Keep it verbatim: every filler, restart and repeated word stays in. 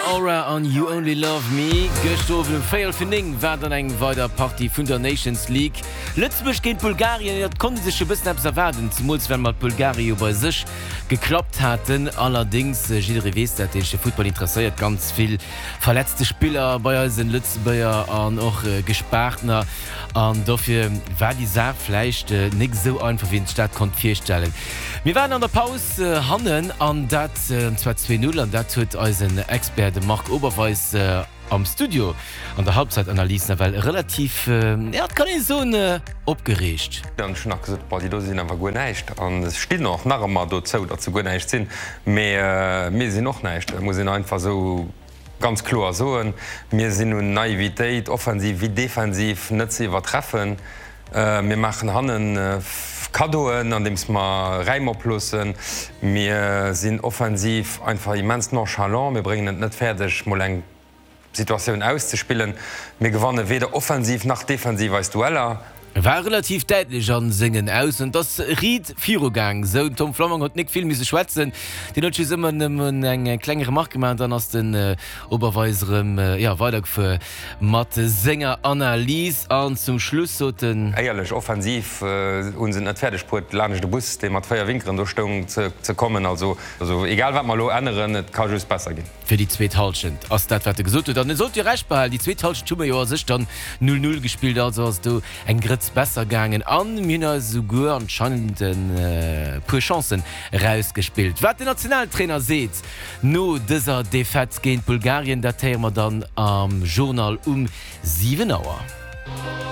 Aura an You Only Love Me. Gëschter Owend um véierel vir néng war dann eng weider Partie vun der Nations League. Lëtzebuerg géint Bulgarien, et konnt ee sech e bëssen eppes erwaarden, zemools well mer d'Bulgarie jo bei sech geklappt haten. Allerdéngs, jidderee weess dat, dee sech fir Futtball interesséiert, ganz vill verletzte Spiller bei eisen Lëtzebuerger an och Gespaartner. An dofir war déi Saach vläicht nik esou einfach, wéi een sech dat konnt virstellen. Mir waren an der Paus hannen an dat zwar zwee Null an dat huet eisen Expert, de Marc Oberweis, am Studio an der Halbzeitanalys nawell relativ, jo, et kann ee soen, opgereegt. An ech hunn nach gesot, Boah, déi do sinn awer guer näischt. An ech stinn och nach ëmmer dozou, datt se guer näischt sinn. Mee mir sinn och näischt, dat muss een einfach esou ganz kloer soen. Mir sinn un Naivitéit, offensiv wéi defensiv, net ze iwwertreffen. Mir maachen hannen Kaddoen, andeems mer Räim oploossen. Mir sinn offensiv einfach immens nonchalant. Mir bréngen et net fäerdeg, mol eng Situatioun auszespillen. Mir gewanne weder offensiv nach defensiv eis Dueller. War relativ däitlech a sengen Aussoen. Et ass riit viru gaang, sou den Tom Flammang huet nik vill misse schwätzen, deen huet just ëmmer nëmmen eng kleng Remarque gemaach an dann ass den Oberweis erëm, jo, weidergefuer mat senger Analys an zum Schluss sot en. Éierlech, offensiv hu se et net fäerdeg bruet, laanscht e Bus, dee mat véier Winkeren do stoung, ze kommen. Also egal wat mer elo änneren, et ka just besser ginn. Fir déi zweet Hallschent ass dat, wat e gesot huet. An e sollt jo Recht behalen, déi zweet Hallschent hu mer jo a sech dann null null gespillt, also ass et do eng Grëtz besser gaangen a mir hunn eis esouguer anscheinend e puer Chancen erausgespillt. Wat den Nationaltrainer seet no dëser Defaite géint Bulgarien, dat héiere mer dann am Journal um siwen Auer.